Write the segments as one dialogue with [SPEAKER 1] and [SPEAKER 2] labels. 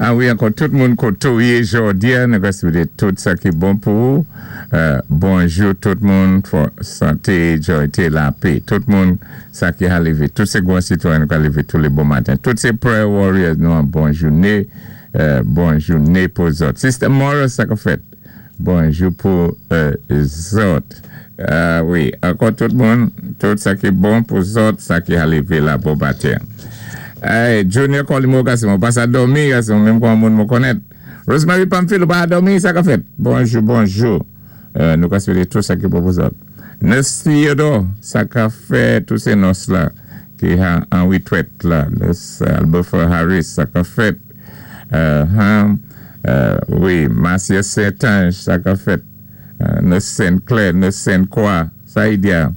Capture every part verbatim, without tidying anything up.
[SPEAKER 1] Ah wi, ankò tout moun koté ou yé jòdi-a, nou ka swété tout sa ki bon pou ou. Euh, bonjou tout moun, santé, jwa, lapè. Tout moun sa ki a lévé, tout sé gwan sitwayen ki a lévé tou lé bon maten. Tout sé prayer warriors nou an bon jouné, euh, bon jouné pou zòt. Sister Morris sa ka fèt. Bonjou pou euh, zòt. Euh, wi, ankò tout moun, tout sa ki bon pou zòt, sa ki a lévé la bon maten. Hey, Junior Colimo gason, ou pa sa dòmi gason, menm kon moun mwen konnèt. Rosemary Pamphile, ou pa dòmi, sa ka fèt. Bonjou, bonjou. Euh, nou ka swété tout sa ki bon pou zòt. Nurse Theodore, sa ka fèt, tout sé nòs la, ki a an witwèt la. Nurse Alberta Harris, sa ka fèt. Euh, hein, euh, wi, Marcia Saint-Ange, sa ka fèt. Euh, Nurse Saint-Clair, Nurse Saint-Croix, sa y diya.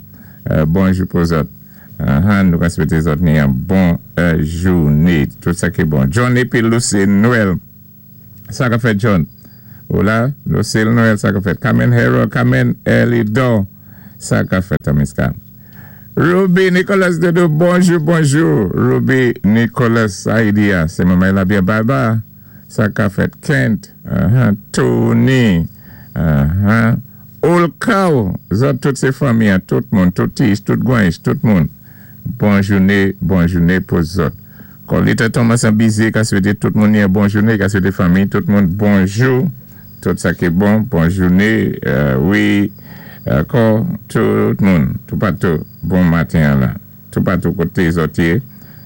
[SPEAKER 1] Euh, bonjou pou zòt. Uh, nou ka swété zòt ni an bon euh, jouné. Tout sa ki bon. John épi Lucy Noël. Sa ka fèt John. Ou la, Lucille Noël, sa ka fèt. Carmen Hero, Carmen Elidor. Sa ka fèt, Amiska. Ruby Nicolas Dodo, bonjou, bonjou. Ruby Nicolas, sa y diya. Sé manmay la byen bye bye. Sa ka fèt Kent. Uh -huh. Tony. Uh -huh. Olkaw, zòt tout sé fanmi, tout moun, tout tis, tout gwanch, tout moun. Bon jouné, bon jouné pou zòt. Colita Thomas an bizé, ka swété tout moun yon bon jouné, ka swété fanmi, tout moun bonjou, tout sa ki bon, bon jouné, euh, wi, ankò, tout moun, tout patou, bon maten la, tout patou koté zòt yé,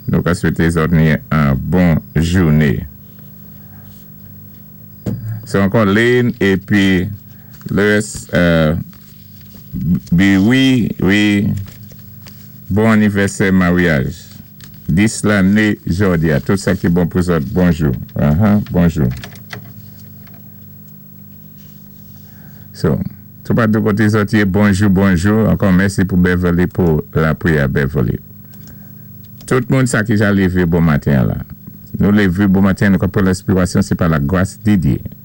[SPEAKER 1] nou ka swété zòt ni an bon jouné. Sé ankò Lynn épi Lewis, euh, bi wi, wi, bon anivèsè maryaj. Dis lanné jòdi-a, tout sa ki bon pou zòt, bonjou. Uh-huh, bonjou. So, tout patou koté zòt yé, bonjou, bonjou. Ankò mèsi pou Beverly, pou lapriyè Beverly. Tout moun sa ki ja lévé bon maten la. Nou lévé bon maten, nou ka pran lenspirasyon, sé pa la gras di Dye.